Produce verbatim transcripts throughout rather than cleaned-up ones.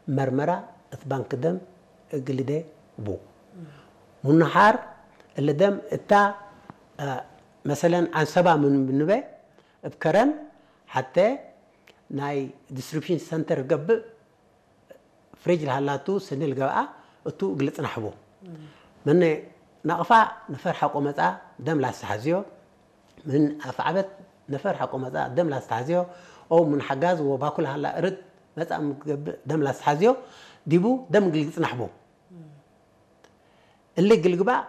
መርመራ እት ባንክ ደም እግልደ ቡ። ምኑ ሐር እሊ ደም እታ፣ አ፣ መሰለን ዐንሰባ ምን ብንበ እብ ከረን ሐቴ ናይ ዲስትሪቡሽን ሰንተር ገብእ ፍሪጅ ለሀላቱ ስኒ ልገብአ እቱ እግል ጽናሕ ቡ። ምነ ናቅፋ ነፈር ሐቆ መጽአ ደም ላስተሐዝዮ፣ ምን አፍዓበት ነፈር ሐቆ መጽአ ደም ላስተሐዝዮ፣ ኦው ምን ሐጋዝ ወባኩ ለሀላ እርድ መጽአ ምትገብእ ደም ላስተሐዝዮ፣ ዲቡ ደም እግል ጽናሕ ቡ። እሊ እግል ግባእ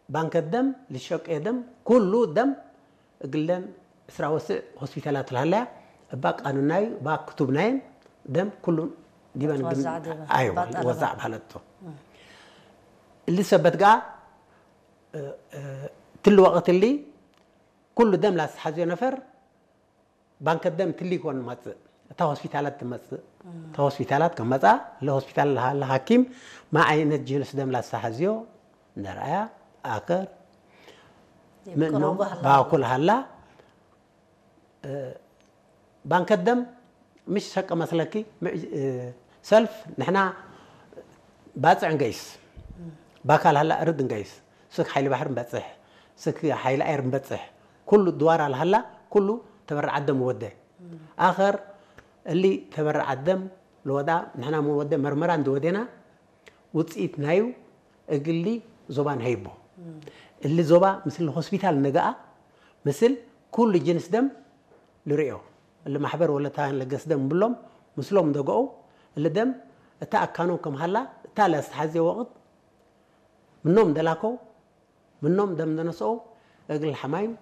ባንከ ደም ልሸቄ ደም፣ ኩሉ ደም እግለን ዕስራ ወስዕ ሆስፒታላት ለሀለያ፣ እባ ቃኑናዩ፣ እባ ክቱብ ናይን ደም ኩሉ ዲበን እግል ትወዛዕ ዲበ፣ አይዋ፣ እባ ጠለበ። ወዛዕ በሀለቶ። እሊ ሰበት ገአ፣ እ፣ እ፣ ትል ወቅት እሊ ኩሉ ደም ላስተሐዝዮ ነፈር ባንከ ደም ትሊኮን መጽእ፣ እታ ሆስፒታላት ትመጽእ፣ እታ ሆስፒታላት ከመጽአ፣ ለሆስፒታል ለሀለ ሐኪም ማ ዓይነት ጅንስ ደም ላስተሐዝዮ እንደ ረአያ፣ አከር፣ ምኖም፣ ይቅረቡ ሀላ። ባኩል ሀላ፣ እ፣ ባንከ ደም ምሽ ሰቀ መስለኪ፣ ም-፣ እ፣ ሰልፍ ንሕና ባጽዕ እንገይስ፣ ባካል ሀላ እርድ እንገይስ፣ ስክ ሓይሊ ባሕር እንበጽሕ፣ ስክ ሓይሊ አየር እንበጽሕ፣ ኩሉ ድዋራ ለሀላ፣ ኩሉ ተበረዓት ደም ወደ። አኸር እሊ ተበረዓት ደም ለወዳ፣ ንሕና ምን ወደ መርመራ እንዲ ወዴና፣ ውጽኢት ናዩ እግሊ ዞባ ንሀይቦ። እሊ ዞባ ምስል ሆስፒታል ነገአ፣ ምስል ኩሉ ጅንስ ደም ልርእዮ። እሊ ማሕበር ወለታ ለገስ ደም ብሎም፣ ምስሎም ደገኦ፣ እሊ ደም እታ አካኖም ከም ሀላ፣ እታ ለአስተሐዜ ወቅት ምኖም ደላከው፣ ምኖም ደም እንደ ነስኦ እግል ሐማይም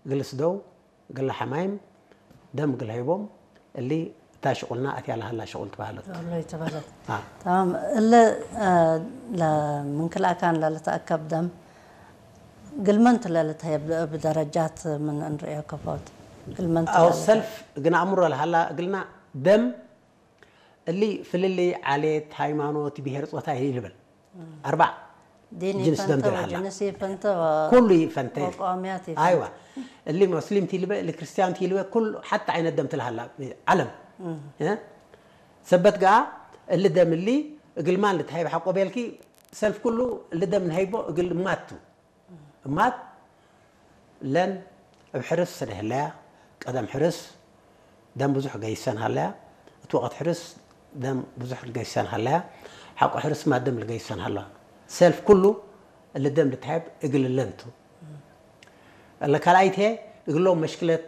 እግል ስደው፣ እግል ሐማይም ደም እግል ሀይቦም፣ እሊ እታ ሽቁልና አትያ ለሀላ ሽቁል ትበሀለት። ወሎይ ትበሀለት። አ። ተማም። እለ፣ አ፣ ለምን ክልአካን ለልትአከብ ደም እግል መን ቱ ለልትሀየብ እብ ደረጃት ምን እንርእዮ ከፎት? እግል መን ቱ አው ለልትሀየብ? ሰልፍ እግል ነአምሮ ለሀላ እግልና ደም እሊ ፍልልይ ዓሌት፣ ሃይማኖት፣ ብሄር፣ ጾታ ኢልብል። አርባዕ ዲን ጅንስ ደም ኢፈንተ ትልሀላ። ወጅንስ ኢፈንተ ወ-፣ ኩሉ ኢፈንተ። ወቀዋምያት ኢፈንተ። አይዋ። እሊ ሙስሊም ቲልበ፣ እሊ ክርስቲያን ቲልበ፣ ኩሉ ሐቲ ዓይነት ደም ትልሀላ ዓለም። እ? ሰበት ገአ እሊ ደም እሊ እግል ማን ልትሀይብ ሐቆ ቤልኪ፣ ሰልፍ ኩሉ እሊ ደም ንሀይቦ እግል እማት ቱ። እማት ለን እብ ሕርስ ሰደህ ህለያ፣ ቀደም ሕርስ ደም ብዙሕ ገይሰን ሀለያ፣ እት ወቅት ሕርስ ደም ብዙሕ ልገይሰን ሀለያ፣ ሐቆ ሕርስ ማ ደም ልገይሰን ሀላ። ሰልፍ ኩሉ እሊ ደም ልትሀብ እግል እለን ቱ። እለ ካልኣይት ህዬ እግሎም መሽክለት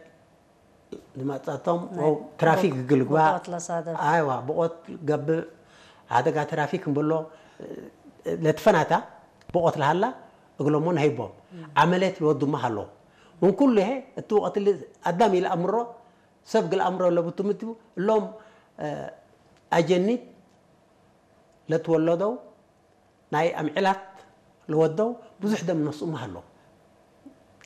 ልመጸቶም ናይ ወው ትራፊክ ብቅ-፣ እግል ግባእ፣ ብቆት ለሳደፍ። አይዋ፣ ብቆት ገብእ፣ አደጋ ትራፊክ እንብሎ፣ ለትፈናታ ብቆት ለሀላ እግሎሞ ነሀይቦም። ዐመልየት ልወዱማ ሀሎ። ምን ኩሉ ህዬ እቱ ወቅት እሊ አዳም ኢለአምሮ፣ ሰብ እግል አምሮ ለቡ ቱ ምን ቱ፣ እሎም፣ እ፣ አጀኒት ለትወለደው ናይ አምዕላት ለወደው ብዙሕ ደም ነስኡመ ሀለው።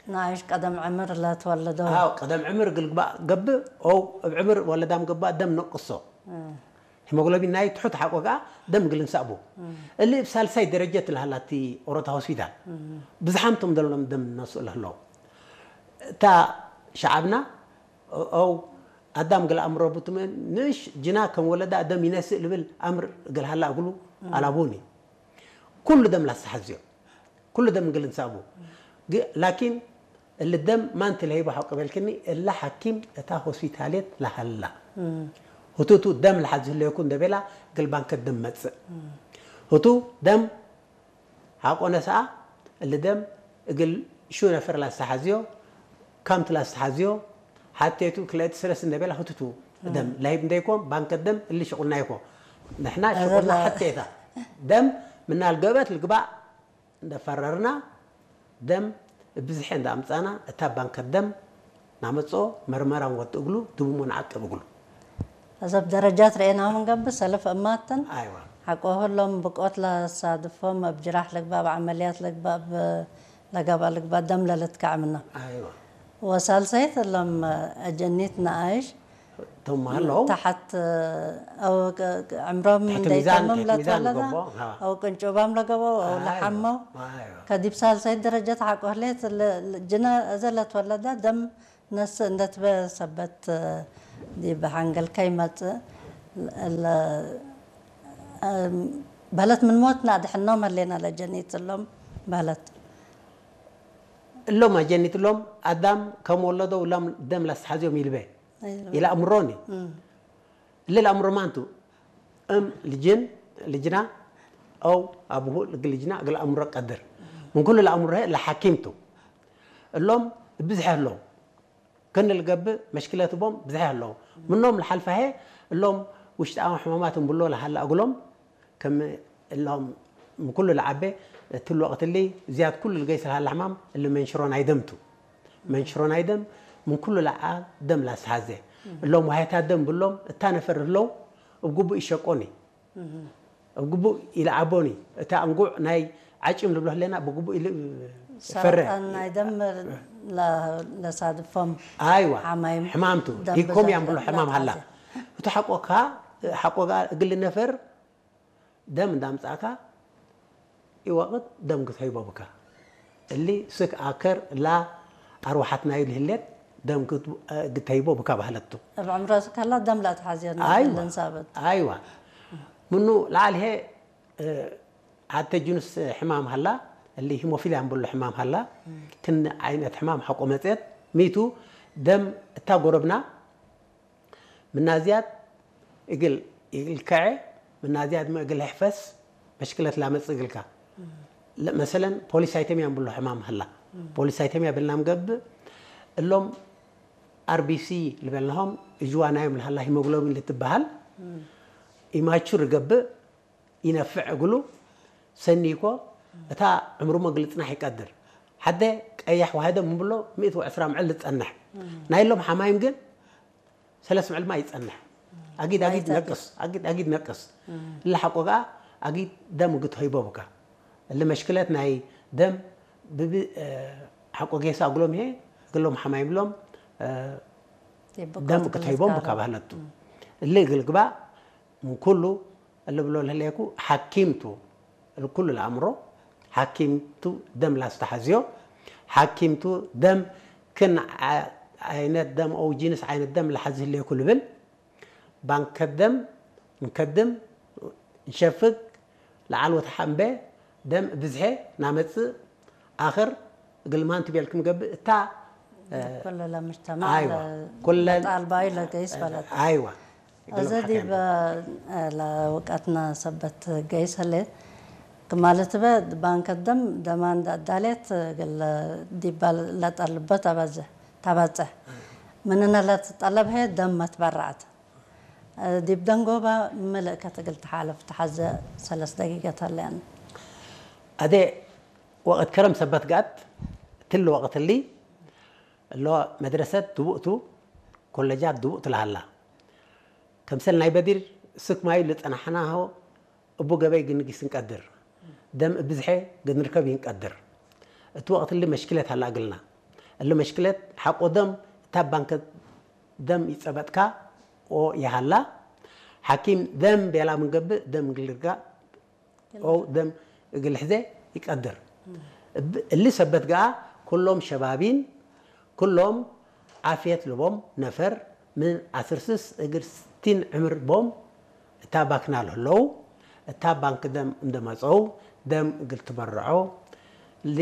ንኣይሽ ቀደም ዕምር ለትወለደው። አው፣ ቀደም ዕምር እግል ግባእ ገብእ፣ ኦው እብ ዕምር ወለዳም ገብእ ደም ነቅሶ። እም። ሂሞግሎቢን ናይ ትሑት ሐቆ ከኣ ደም እግል እንሰእቡ። እም። እሊ እብ ሳልሳይ ደረጀት ለሀላቲ ኦሮታ ሆስፒታል። እም። ብዝሓም ቶም ደሎም ደም ነስኡ ለህለው። እታ ሸዓብና፣ ኦ-፣ ኦው አዳም እግል አምሮ ቡትመ ንእሽ ጅና ከም ወለዳ ደም ይነስእ ልብል አምር እግል ሀላ እግሉ እም። አላቡኒ። ኩሉ ደም ላስተሐዝዮ፣ ኩሉ ደም እግል እንሰእቡ። ግ-፣ ላኪን እሊ ደም ማን ቲ ለህይቦ ሐቆ ቤልክኒ፣ እለ ሐኪም እታ ሆስፒታልየት ለሀላ። እም። ህቱቱ ደም ለሐዝ ህሌኩ እንደ ቤላ እግል ባንከ ደም መጽእ። እም። ህቱ ደም ሐቆ ነስአ፣ እሊ ደም እግል ሹ ነፈር ላስተሐዝዮ፣ ካምት ላስተሐዝዮ፣ ሐቴቱ ክልኤት ስረስ እንደ ቤላ ህቱቱ እም። ደም ለህይብ እንደ ይኮን፣ ባንከ ደም እሊ ሽቁልና ይኮን። ንሕና አዘ ሽቁልና ለ- ሐቴታ ደም ምናል ገብአት ልግባእ እንደ ፈረርና፣ ደም እብ ብዝሐ እንደ አምጻና፣ እታ ባንከ ደም ናመጽኦ መርመራ እንወድ እግሉ፣ ድቡሞ ነዓቅብ እግሉ። አዘ እብ ደረጃት ረኤናሁ ምን ገብእ፣ ሰልፍ እማትን አይዋ። ሐቆሁ እሎም ብቆት ለሳድፎም፣ እብ ጅራሕ ልግባእ፣ እብ ዐመልያት ልግባእ፣ እብ ለገብአ ልግባእ፣ ደም ለልትከዐ ምኖም። አይዋ። ወሳልሰይት እሎም አጀኒት ነኣይሽ ቶም ሀለው። ተሐት፣ አው ቅ-፣ ቅ-፣ ዕምሮም ተሕት እንደ ሚዛን፣ ይተምም ተሕት ሚዛን ለትወለዳ፣ ልገብኦ፣ አ። አው ቅንጩባም ለገበው፣ አው አይዋ፣ ለሐመው፣ አይዋ። ከዲብ ሳልሳይት ደረጀት ሐቆ ህሌት ለ-፣ ለ-፣ ጅነ እዘ ለትወለዳ ደም ነስእ እንደ ትበ ሰበት ዲብ ሐንገልከ ይመጽእ። ለ-፣ በህለት ምን ሞት ነአድሕኖም ህሌነ ለጀኒት እሎም በህለት። እሎም አጀኒት እሎም አዳም ከም ወለደው እሎም ደም ለአስተሐዝዮም ኢልቤ። ኢለአምሮኒ። እም። እሊ ለአምሮ ማንቱ? እም ልጅን፣ ልጅና፣ አው አቡሁ እግል ልጅና እግል አምሮ ቀድር። ምን ኩሉ ለአምሮ ህዬ ለሐኪም ቱ። እሎም ብዝሐ ህለው። ክን ልገብእ መሽክለት ቦም ብዝሐ ህለው። ምኖም ለሐልፈ ህዬ እሎም ውሽጣዊ ሕማማት እምብሎ ለሀለ እግሎም ከም እሎም ምን ኩሉ ለዐቤ እትሉ ወቅት እሊ ዝያድ ኩሉ ልገይስ ለሀለ ሕማም እሊ መንሽሮ ናይ ደም ቱ። መንሽሮ ናይ ደም ምን ኩሉ ለዐ ደም ለአስተሐዜ። እሎም ወሀይታት ደም ብሎም እታ ነፈር ህለው እብ ግቡእ ኢሸቆኒ። እብ ግቡእ ኢለዐቦኒ። እተ እንጉዕ ናይ ዐጭም ልብሎ ህሌና ብግቡእ ኢልፈረ። ሰረጣን ናይ ደም ለ-፣ ለሳድፎም አይዋ፣ ሐማይም ሕማም ቱ። ደም ሊኮሚያ ብዘሕ እምብሎ ሕማም ሀላ። ለአትሐዜ። እቱ ሐቆካ፣ ሐቆ እግል ነፈር ደም እንዳ አምጻእካ፣ ኢወቅት ደም ግትሀይቦ ብካ። እሊ ስክ አከር እላ አርወሐት ናዩ ለህሌት ደም ግት-፣ ግትሀይቦ ብካ በህለት ቱ። እብ ዕምሮ ስክ ሀላ ደም ለአትሐዜ አይዋ። ለንሳበት። አይዋ። ምኑ ለዐል ህዬ፣ እ፣ ሐቴ ጅኑስ ሕማም ሀላ፣ እሊ ሂሞፊልያ እምብሎ ሕማም ሀላ፣ ክን ዐይነት ሕማም ሐቆ መጽአት፣ ሚቱ ደም እታ ጎረብና፣ ምና ዝያድ እግል፣ እግል ከዐ፣ ምና ዝያድመ እግል ሕፈስ መሽክለት ላመጽእ እግልካ። ለ-፣ መሰለን ፖሊሳይተሚያ እምብሎ ሕማም ሀላ። ፖሊሳይተሚያ ብልናም ገብእ፣ እሎም አር ቢ ሲ ልበልናሆም እጅዋ ናዮም ለሀላ ሂሞግሎቢን ልትበሀል፣ ኢማቹር ገብእ፣ ኢነፍዕ እግሉ ሰኒኮ፣ እታ ዕምሩመ እግል ልጽናሕ ኢቀድር። ሐደ ቀያሕ ዋህደ ምን ብሎ ምእት ወዕስራ ምዕል ልጸንሕ። ናይሎም ሐማይም ግን ሰለስ ምዕል ማይ ኢጸንሕ። አጊድ አጊድ ነቅስ፣ አጊድ አጊድ ነቅስ። እለ ሐቆ ገአ አጊድ ደም እግል ትሀይቦ ብካ። እለ መሽክለት ናይ ደም ብብ-፣ እ፣ ሐቆ ጌሰ እግሎም ህዬ፣ እግሎም ሐማይም ሎም፣ እ፣ ደም እግል ትሀይቦም ብካ በህለት ቱ። እለ እግል ግባእ ምን ኩሉ እሊ ብሎ ለህሌኩ ሐኪም ቱ፣ እሊ ኩሉ ለአምሮ ሐኪም ቱ ደም ላስተሐዝዮ፣ ሐኪም ቱ ደም ክን ዐ-፣ ዐይነት ደም አው ጂንስ ዐይነት ደም ለሐዝ ህሌኩ ልብል፣ ባንከት ደም እንከድም፣ እንሸፍግ፣ ለዐል ወተሐ እምቤ ደም ብዝሔ ናመጽእ፣ አክር እግል ማን ቱ ቤልክም ገብእ እታ፣ እ፣ ኩለ ለምጅተማዕ አይዋ፣ ለ-፣ ኩለን ለጣልባዩ ለገይስ በለድ። አይዋ። እግል አዜ ሐከ ዲብ፣ እ፣ ለውቀትና ሰበት ገይስ ህሌት፣ ክማለ ትበ ባንከ ደም ደማን አዳሌት እግል ዲበ ለጠልቦ ተበዝሕ፣ ተበጽሕ። ምንነ ለትጠለብ ህዬ ደም መትበረዐት። ዲብ ደንጎባ ምልእከት እግል ተሓልፍ ተሐዘ ሰለስ ደቂቀት ሀለያነ። አዜ ወቅት ከረም ሰበት ገአት፣ እትሊ ወቅት እሊ እሎ መድረሰት ድቡእ ቱ፣ ኮለጃት ድቡእ ቱ ለሀላ። ከምሰል ናይ በዲር ስክ ማዩ ልጸናሕናሆ እቡ ገበይ ግንጊስ እንቀድር፣ ደም እብ ብዝሔ ግንርከብ ኢንቀድር። እት ወቅት እሊ መሽክለት ሀላ እግልና። እሊ መሽክለት ሐቆ ደም እታ ባንከ ደም ኢጸበጥካ ኦ የሀላ፣ ሐኪም ደም ቤላ ምን ገብእ ደም እግል ልርጋእ ኦ ደም እግል ልሕዜ ኢቀድር። እብ-፣ እሊ ሰበት ገአ ኩሎም ሸባቢን፣ ኩሎም ዓፍየት ለቦም ነፈር ምን ዐስር ስስ እግል ስቲን ዕምር ቦም እታ ባክና ለህለው፣ እታ ባንክ ደም እንደ መጸው ደም እግል ትበረዖ፣ እሊ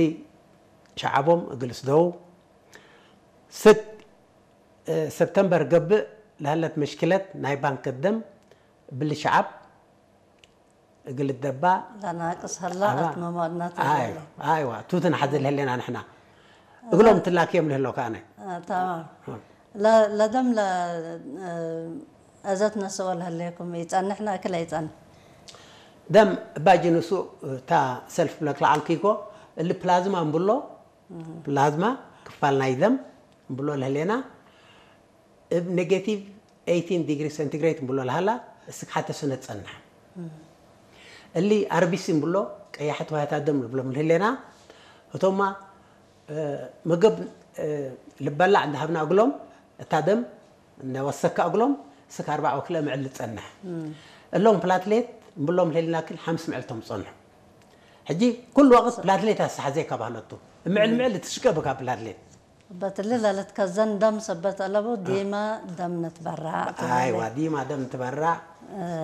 ሸዐቦም እግል ስደው። ስክ፣ እ፣ ሰብተምበር ገብእ ለሀለት መሽክለት ናይ ባንክ ደም እብሊ ሸዐብ እግል ልደባ ለናቅስ ሀላ አባ፣ አትመ መዋድናት አይዋ፣ ለሀለ። አይዋ፣ ቱ ትንሐዜ ለህሌና ንሕና። እግሎም ትላክዮም ለህለው ከአነ። አ፣ ተማም። አ። ለ-፣ ለደም ለ-፣ እ፣ አዘት ነስኦ ለህሌኩም ኢጸንሕነ እክለ ኢጸንሕ? ደም እባ ጅንሱ እታ ሰልፍ ብለክ ለዐልኩ ኢኮ፣ እሊ ፕላዝማ እምብሎ፣ ፕላዝማ ክፋል ናይ ደም እምብሎ ለህሌና፣ እብ ኔጌቲቭ ኤይቲን ዲግሪ ሴንቲግሬድ እምብሎ ለሀላ፣ እስክ ሐተ ሰነት ጸንሕ። እሊ አር ቢ ሲ እምብሎ፣ ቀያሐት ውህያት ደም ልብሎም ለህሌና፣ ህቶማ፣ እ፣ ምግብ፣ እ፣ ልበላዕ እንደ ሀብና እግሎም፣ እታ ደም እንደ ወሰካ እግሎም፣ እስክ አርበዕ ወክልኤ ምዕል ልጸንሕ። እሎም ፕላትሌት እምብሎም ለህሌና ክል ሐምስ ምዕል ቶም ጸንሑ። ሕጂ ኩሉ ወቅት ፕላትሌት አስተሐዜ እካ በህለቱ። ምዕል ምዕል ልትሽቀ ብካ ፕላትሌት። ሰበት እሊ ለልትከዘን ደም ሰበት አለቡ፣ ዲመ ደም ንትበረዕ ቱ። አይዋ፣ ዲመ ደም ንትበረዕ።